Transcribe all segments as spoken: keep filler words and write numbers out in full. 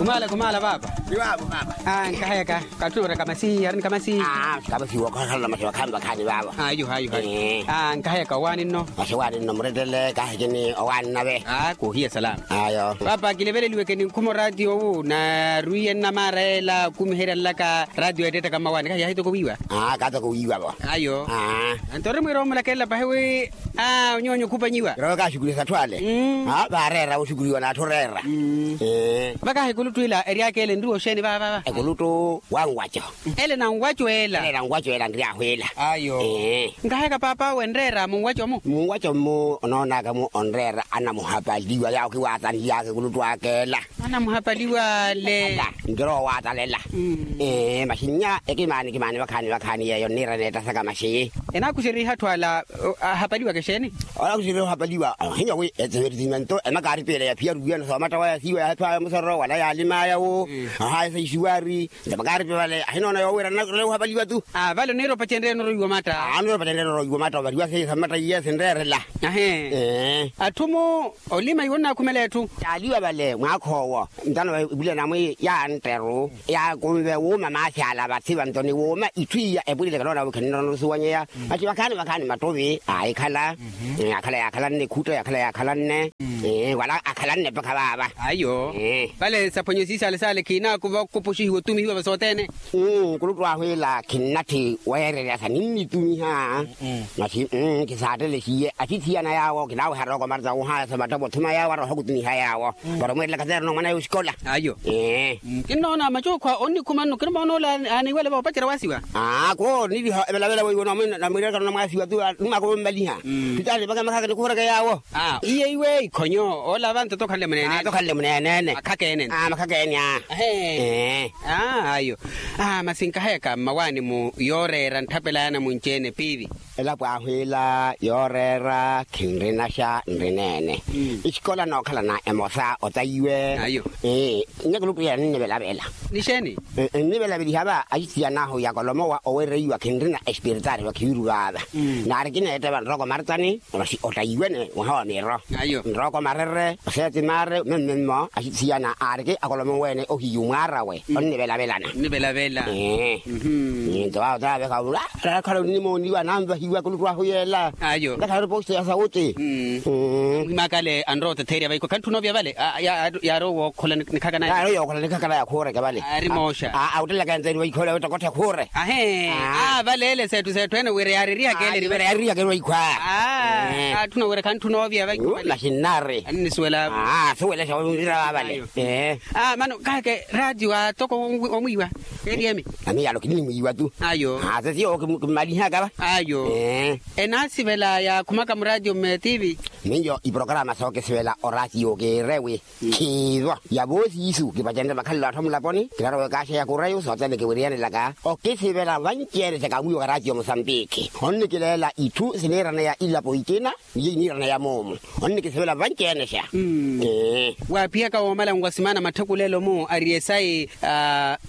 Khumala khumala paapa. Ni paapa paapa. Nkahayaka. Kattuureka masi ari ni kamasi. Kamasi wookhakhala masi vakhaani vakhaani paapa. Ayo ayo ayo. Nkahayaka owaani nno. Masi owaani nno murettele kahekini owaani nave. Koohiya salama. Ayo paapa kileveleliweke ni nkhuma oraatiyo owu narwiye nnamaara ela okumiherya nlaka. Raatiyo eettettaka mmawaani kahiya ahitoko wiiwa. Kaatoko wiiwa vo. Ayo. Nto ori mwiira omulakelela pahi wi onyoonyo khupanyiwa. Kirowe kaaxukuliwa satthu ale. Vaareera wuxukuliwa n'atthu oreera. Vakahi ekuluttu ila eryaka ele nriwa oxeeni vaavava? Ekuluttu wa nwaco. Ele na nwaco ela. Ele na nwaco ela nryaahu ela. Ayo. Nkahayaka paapa wenreera munwaco-mu? Munwaco mmu onoonaka-mu onreera anamuhapaliwa yaawo kiwaatanly'aka ekuluttu aka ela. Anamuhapaliwa le. Nkirowa owaatalela. Masi nnya ekimaani kimaani vakhaani vakhaani yeeyo nniira neettasaka masi. Enaakuxeriha atthu ala ahapaliwaka exeeni? Onaakuxeriha ohapaliwa ohinya wi eseverisimanto emakaaripela yaphiya ruwiyana soomatta waya siiwa yahephaya musoro wala yaalimaya wo. Ohayesa isiwari. Nto makaaripe vale ahinoona yoowira nnakuttela ohapaliwa tu. Vale oniira opacenryeya norowiwa omatta. Oniira opacenryeya norowiwa omatta ovariwa seiyo sa mmatta iye sinreerela. Ahe. Atthu-mu olima iwo onnaakhumela etthu. Yaaliwa vale mwaakha owo. Ntano epuliyana mwi yantteru yaakunve wuuma maasi ala vathi vanto ni wuuma itthu iya epulile kanoona wi khinnoona osuwanyeya. Masi vakhaani vakhaani mattuvi aahikhala. Akhala yaakhalanne ekhutta yaakhala yaakhalanne. Wala akhalanne mpakha vaava. Ayo. Vale saphwanya siisale sale khiinaakuva okupuxihiwa otumihiwa vasothene. Nkuluttu ahu ila khinnatthi weererya sa ninnitumiha. Masi khisaattele siiye asithiyana yaawo kinaawehara okomarta wuhayasa mattavo othuma yaawo aroha okutumiha yaawo. Para omweerelaka seerina omwanawe oxikola. Ayo. Kinnoona macuukhwa onnikhuma nno kinimoona ole aaniiwele va opacerya waasiwa. Kho onniviha evelavela weiwo namwiirekano namwaasiwa tu. Numaka ommaliha. Sitaani vaka makhaka nikhuhureke yaawo. Iye iwe ikhonyo ola vanto tokhanle muneenene. Tokhanle muneenene. Makhaka ene. Makhaka ene a. Ayo. Masi nkahayaka mmawaani-mu yooreera ntthapela yaana munci-ene piivi. Elapo ahu ila yooreera khinrinaxa nrineene. Ixikola nookhalana emosa otayiwe. Nnyakuluttuyela ninnivelavela. Nixeeni? Nnivelaveliha va axisiyana ahu yakolomowa owereiwa khinrina espiritaari vakhiviru vaava. Naari kineetteva nrooko maritani. Masi ottayiwene mwaha wa miiro. Nrooko marere oseeti maare mmemmemmo axisiyana aariki akolomoweene ohiyu mwaarawe onnivelavelana. Nto awo taavekha ula. Rakhala onnimooniwa nanvahiwa kuluttu ahu yeela. Ntakhala ori posto ya sauti. Mwimakale anrowa otetherya vaikho khantthu noovya vale. Yaarowa ookhola nikhaka naye. Yaarowa ookhola nikhaka naye akhuureke vale. Ari mooxa. Awuttelaka enzeni vaikho ole awettokotthe khuure. Ahe. Vale ele seettu seettu ene wira yaarerihaka ele eri vale. Yaarerihaka eri vaikho a. Atthuna wira khantthu noovya vaikho vale. Naxinnaari. Aninisuwela. Suwelexa wira vavale. Mano kaheke raatiyo atoko omwiiwa. Eri emi. Ami yalo kinimwiiwa tu. Ayo. Sesiyo kimmalihaka va. Ayo. Enaasivela yaakhumaka muraatiyo mmetivi. Miyo iporokaraama sookisivela oraatiyo kiire wi khiivo ya voosiisu kipacenrye makhalelo atthu amulaponi kinarowa ekaaxa ya kureyu sothene kiwiriyanelaka. Okisivela vanci-ene sakawiwaka raatiyo musambiki onnikileela itthu siniiraneya ilapo ikina. Niyo iniiraneya moomu onnikisivela vanci-ene xa. Waaphiyaka woomala nwasimana matthekulelo-mu ari esayi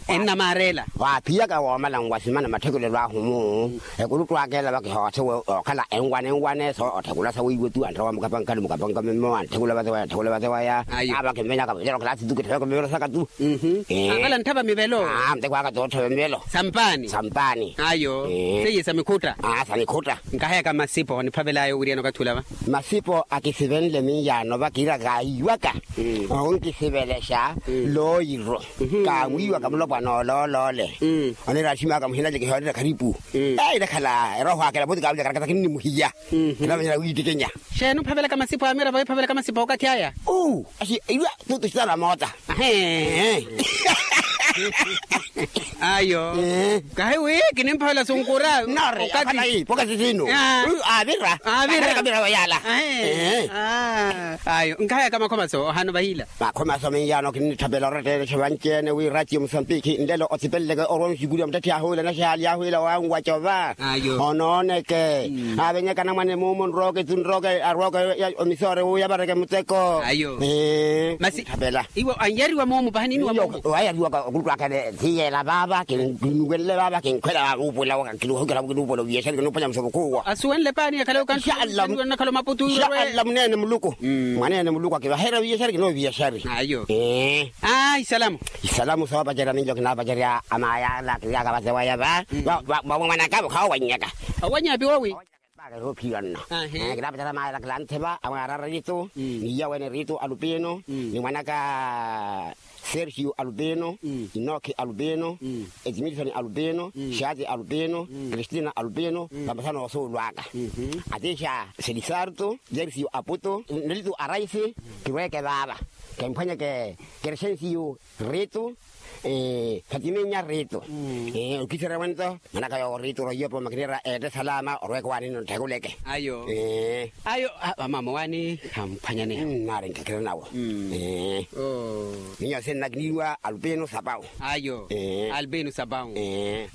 ennamaarela. Waaphiyaka woomala nwasimana matthekulelo ahu-mu. Ekuluttu akeela vakihoothewe ookhala enwane enwane so otthekula sawiiwe tu antthewa mukapankani mukapanka mimmo antthekula vathewaya antthekula vathewaya. Ayo. Avakimmenya kavenyelo kalasi tu kittheweke mivelo saka tu. Akala nttha va mivelo. Muteko aka toottha va mivelo. Sampaani. Sampaani. Ayo. Seiye sa mikhutta. Sa mikhutta. Nkaheyaka masipo oniphavelaya owiriyana okathi ula va. Masipo akisivenle miyaano va kiira kaayiwaka. Onkisivelexa looyiro. Kaamwiiwaka mulopwana olooloole. Onira aximaka muhina leke hoonira kharipu. Eyi nakhala erooho akela pooti kaamulekarakataki nnimuhiya. Kinavanyela wiitikenya. Xeeni ophavelaka masipo amira vawi ophavelaka masipo okathi aya. Uu. Axi iwa tutu xitana moota. Ayo. Kahi wi kinimphavela sunkura. Nori okati. Okati sinu. Avira. Avira. Avira vayala. Ayo nkahayaka makhomaso ohano vahila. Makhomaso miyaano kinnitthapela oretteelexa vanci-ene wi ratio musambiki nlelo othipeleleke orwa onxikuriwa muttetthe ahuwila naxaali ahuwila wanwacova. Onooneke. Avenyaka namwane muumo nrooke tu nrooke arwooke. Omisoore wuyavareke muteko. Masi iwe anyariwa moomu pahaniniwa moomu. Wayariwaka okuluttu akene thiyela. Vaava kinnuwenle vaava kinkhwela vaava uupula. Kinuhokela kinuupula oviyasari kinuuphwanya musopo khuuwo. Asuwenle paani yakhale okanxallamu. Nakhale omaputu. Muneene muluku. Mwaneene muluku akivaherya oviyasari kinuuviyasari. Ayo. Ee. Aa isalamu. Isalamu soopacerya ninjo kinaapacerya. Amaayala kiriaka vate waya va. Vamwanaka vokhawo wannyaka. Owanyaapi woowi. Paaka eroophiwa nno. Kilaapatara maayala kilanthepa amwaarara ritu. Ni iya wene ritu alupino ni mwanaka sergio alupino, inoki alupino, edmilson alupino, shati alupino, kristina alupino. Vamasana osuulwaka atiixa selisarto, jersio aputo nritu araisi. Kiweeke vaava kimphwanyeke keresensio ritu. Fatiminya ritu. Okiserya wento manaka yowo ritu roiyopo makinira eete salama orweke waani nno ntthekuleke. Ayo. Ayo. Vamama waani. Hamphwanyane. Nnaari nkekere nawo. Minyose nnakiniriwa alupino sapau. Ayo. Albino sapau.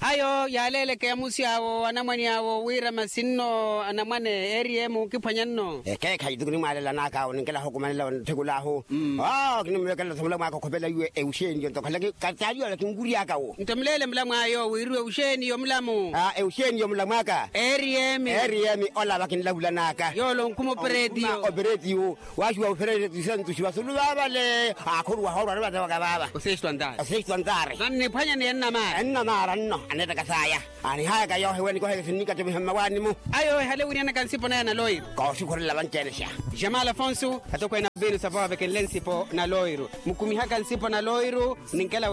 Ayo yaaleeleke amusi awo anamwane awo wira masinno anamwane eri emu kiphwanya nno. Ekeekhayi tuku nimwaalelanaka awo ninkelaha okumanela nthekula ahu. Kinimulekela sa mulamwaka okhopela iwe euxeniyo ntokhalaki. Kataliola kinkuryaka wo. Nto muleele mulamwaya owo wiriwe euxeniyo mulamu. Euxeniyo mulamwaka. Eriyemi. Eriyemi ola vakinlavulanaka. Yoolo onkhuma operetiyo. Operetiyo. Waaxiwa operetiyo santuxi vasulu vaavale. Akhuruwa hoorwa nivatewaka vaava. Osexto antari. Osexto antari. Nanniphwanya ni ennamaara. Ennamaara nno aneettaka saya. Anihayaka yoohiwe nikoheke sinnikattumiha mmawaani-mu. Ayo ehale wiriyanaka nsipo naya naloiru. Kooxukhurela vanci-ene xa. Jamal afonso atokweene albino sapa wavekenle nsipo naloiru. Mukumihaka nsipo naloiru. Ninkela.